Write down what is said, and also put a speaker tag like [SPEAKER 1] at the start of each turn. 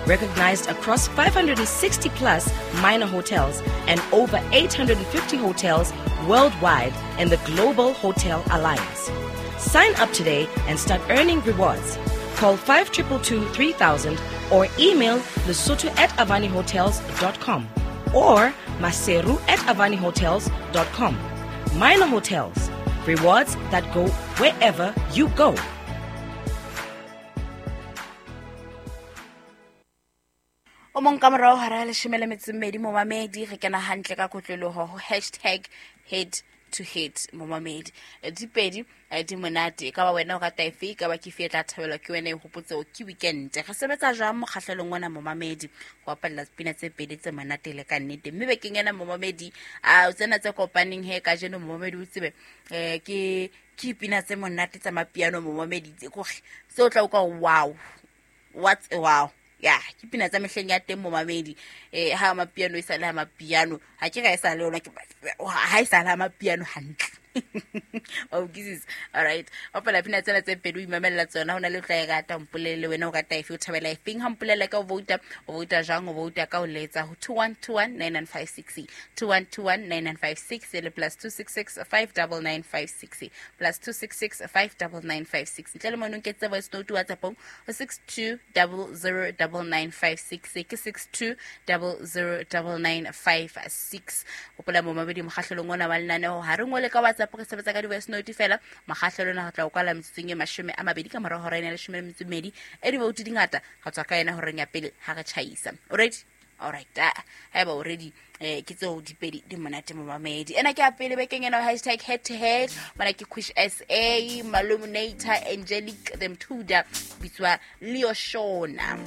[SPEAKER 1] Recognized across 560 plus minor hotels and over 850 hotels worldwide in the Global Hotel Alliance. Sign up today and start earning rewards. Call 5222 3000 or email lesotho at avanihotels.com or maseru at avanihotels.com. Minor Hotels, rewards that go wherever you go.
[SPEAKER 2] O mong ka morao hara ya leshome le metso e mmedi momamedi re kena hantle ka kotloloho ho hashtag head to head momamedi. Di pedi di monate, e ka ba wena o rata efe, e ka ba ke fe e tla thabelwa ke wena, e hopotse hore ke weekend. Re sebetsa jwang mokgahlelong ona momamedi ho bapalla pina tse pedi tse monate le ka nnete? Mme bekeng ena momamedi, a tsena tse kopaneng he kajeno momamedi o tsebe, ke dipina tse monate tsa mapiano momamedi, tse kore seo tla utlwa wow, what's a wow. Ya ke pina tsa mehleng ya teng momamedi. Ha mapiano e sa le ha mapiano, ha ke ga e sa le yona, ke ha e sa le ha mapiano hantle. Wa utlwisisa? All right, bapala pina tsena tse pedi o imamella tsona, ho na le o tla e rata, mpolelle wena o rata efe, o thabela efeng. Ha mpolella ka o vouta, o vouta jwang? O vouta ka o letsa ho 2121 9956, 2121 9956 le plus 266 59956, plus 266 59956. Ntle le mono nketse voice note WhatsAppong ho 62009956, ke 62009956. Hopola momamedi, mokgahlelong ona wa lenaneo ha re ngole ka WhatsApp, re sebetsa ka di-voice note fela. Mokgahlelo ona re tla o kwala metsotsong e 20 ka morao hora ena ya leshome le metso e mmedi. E divoutu di ngata, re tswa ka yena horeng ya pele ha re tjhaisa. O ready? All right, haeba o ready, ke tseo dipedi di monate momamedi. Ena ke ya pele bekeng ena, hashtag head to head. Mona ke Quish SA, Maluminator, Angelic the Mthuda, bitswa Leo Shona.